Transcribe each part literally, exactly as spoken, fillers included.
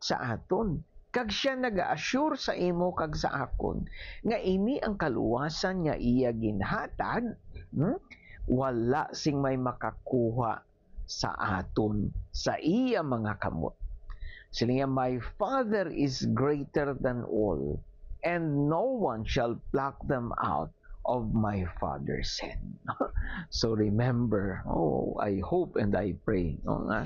sa aton, kag siya naga-assure sa imo kag sa akon nga ini ang kaluwasan nga iya ginhatag, hmm? Wala sing may makakuha sa aton sa iya mga kamot. Siling niya, "My Father is greater than all, and no one shall pluck them out of my Father's hand." So remember, oh, I hope and I pray, no, nga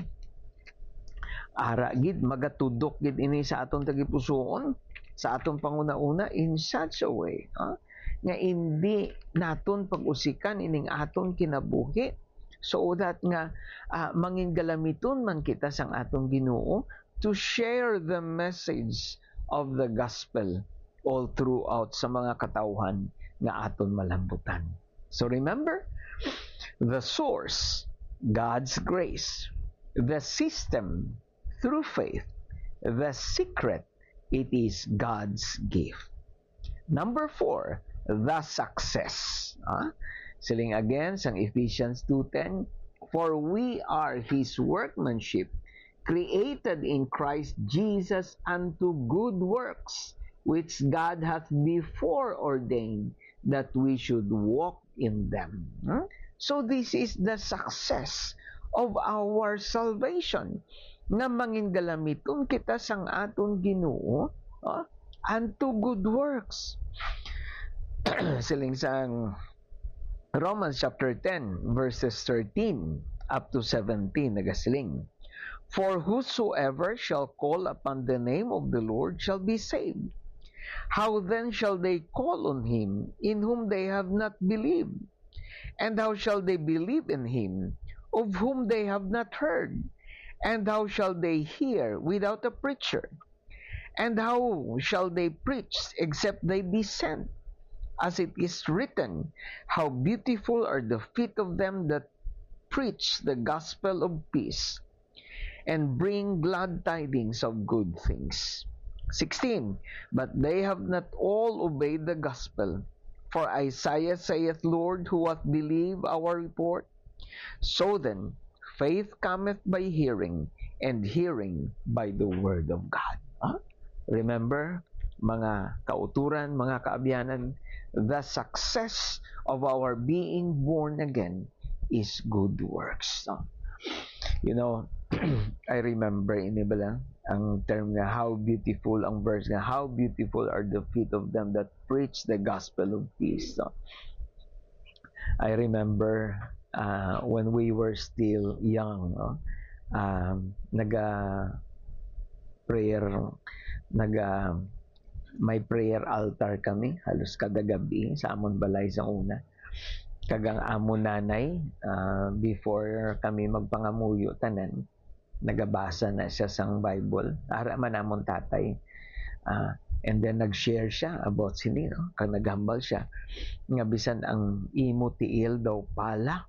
ara gid, magatudok gid ini sa aton tagipusoon, sa aton panguna-una, in such a way, ha, nga indi naton pag-usikan ining aton kinabuhi, so that nga, ah, mangin galamiton man kita sang aton Ginoo to share the message of the gospel all throughout sa mga katawhan nga aton malambutan. So remember, the source, God's grace. The system, through faith. The secret, it is God's gift. Number four, the success. Ah? Siling again sang Ephesians two ten, "For we are His workmanship, created in Christ Jesus unto good works, which God hath before ordained that we should walk in them." Hmm? So this is the success of our salvation, nga mangin galamiton kita sang aton Ginoo, ah, unto good works. Siling sang Romans chapter ten, verses thirteen up to seventeen, nagasiling, "For whosoever shall call upon the name of the Lord shall be saved. How then shall they call on him in whom they have not believed? And how shall they believe in him of whom they have not heard? And how shall they hear without a preacher? And how shall they preach except they be sent? As it is written, 'How beautiful are the feet of them that preach the gospel of peace and bring glad tidings of good things.'" Sixteen, "But they have not all obeyed the gospel. For Isaiah saith, 'Lord, who hath believed our report?' So then, faith cometh by hearing, and hearing by the word of God." Huh? Remember, mga kauturan, mga kaabyanan, the success of our being born again is good works. No? You know, I remember, ini ba lang, ang term nga, how beautiful, ang verse nga, "How beautiful are the feet of them that preach the gospel of peace." No? I remember, uh, when we were still young, no? Um, naga prayer, naga may prayer altar kami halos kada gabi sa amon balay sa una. Kag ang amon nanay, ah, before kami magpangamuyo tanan, nagabasa na siya sang Bible. Ara man amon tatay. Ah, and then nag-share siya about sini, no? Kag naghambal siya nga bisan ang imo tiil daw pala,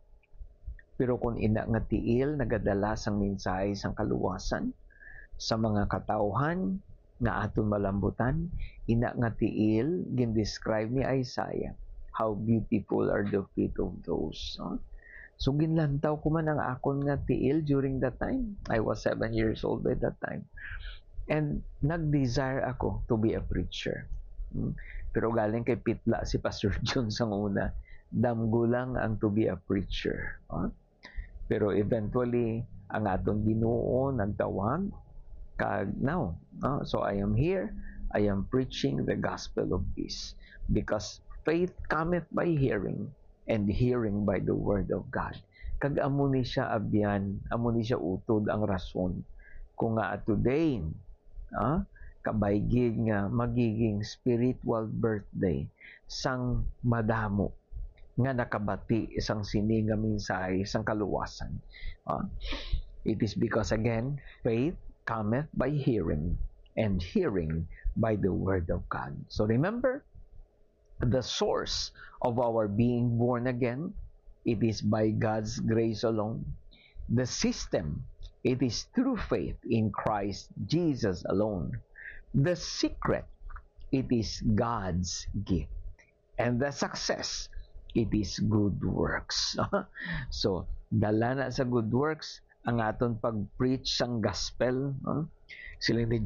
pero kon ina nga tiil nagadala sang mensahe sang kaluwasan sa mga katawhan nga aton malambutan, ina nga tiil gindescribe ni Isaiah, "How beautiful are the feet of those," no? So, ginlantaw ko man ang akon nga tiil during that time. I was seven years old by that time. And nag-desire ako to be a preacher. Hmm. Pero galing kay pitla si Pastor John sang una, damgo lang ang to be a preacher. Ah? Pero eventually, ang aton Ginoo nagtawag, kag now, ah, so I am here, I am preaching the gospel of peace. Because faith cometh by hearing, and hearing by the word of God. Kag amo ni siya, abyan, amo ni siya, utod, ang rason kung nga today, ah, kabay gid nga magiging spiritual birthday sang madamo nga nakabati sang sini nga mensahe sang kaluwasan. Ah, it is because, again, faith cometh by hearing, and hearing by the word of God. So remember, the source of our being born again, it is by God's grace alone. The system, it is through faith in Christ Jesus alone. The secret, it is God's gift. And the success, it is good works. So, dala na sa good works ang aton pag-preach sang gospel, no? Siling ni